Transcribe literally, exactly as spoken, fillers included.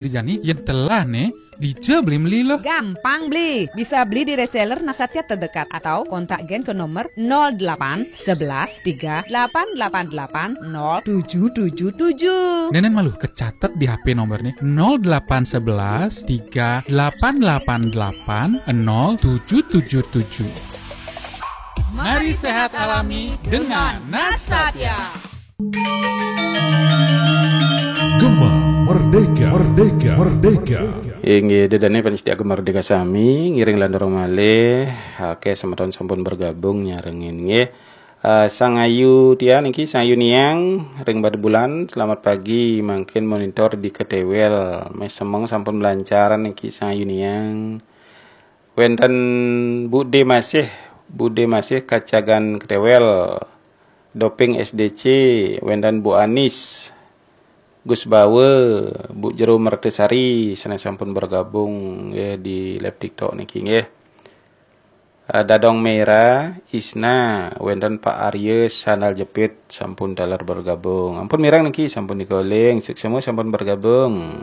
Jani, yen telah ne, dija beli meli loh. Gampang beli. Bisa beli di reseller Nasatya terdekat atau kontak gen ke nomor nol delapan sebelas tiga delapan delapan delapan nol tujuh tujuh tujuh. Nenen malu kecatet di H P nomor nih, nol delapan sebelas tiga delapan delapan delapan nol tujuh tujuh tujuh. Mari sehat alami dengan Nasatya. Gema Merdeka, Merdeka, Merdeka. Inggih, dedane panitia Gema Merdeka sami, ngiring landorong malih. Akeh semeton sampun bergabung nyarengin nggih. Eh, Sang Ayu Tian niki, Sang Ayu Niang ring Batu Bulan, selamat pagi, mangkin monitor di Ketewel. Meh semeng sampun melancaran niki Sang Ayu Niang. Wenten Bude Masih, Bude Masih Kacagan Ketewel. Doping S D C, wenten Bu Anis, Gus Bawe, Bu Jero Mertesari, sane sampun bergabung nggih di live TikTok niki nggih. Eh, Dadong Merah, Isna, wenten Pak Arya Sandal Jepit sampun taler bergabung. Ampun mireng niki sampun dikoling, suksema sampun bergabung.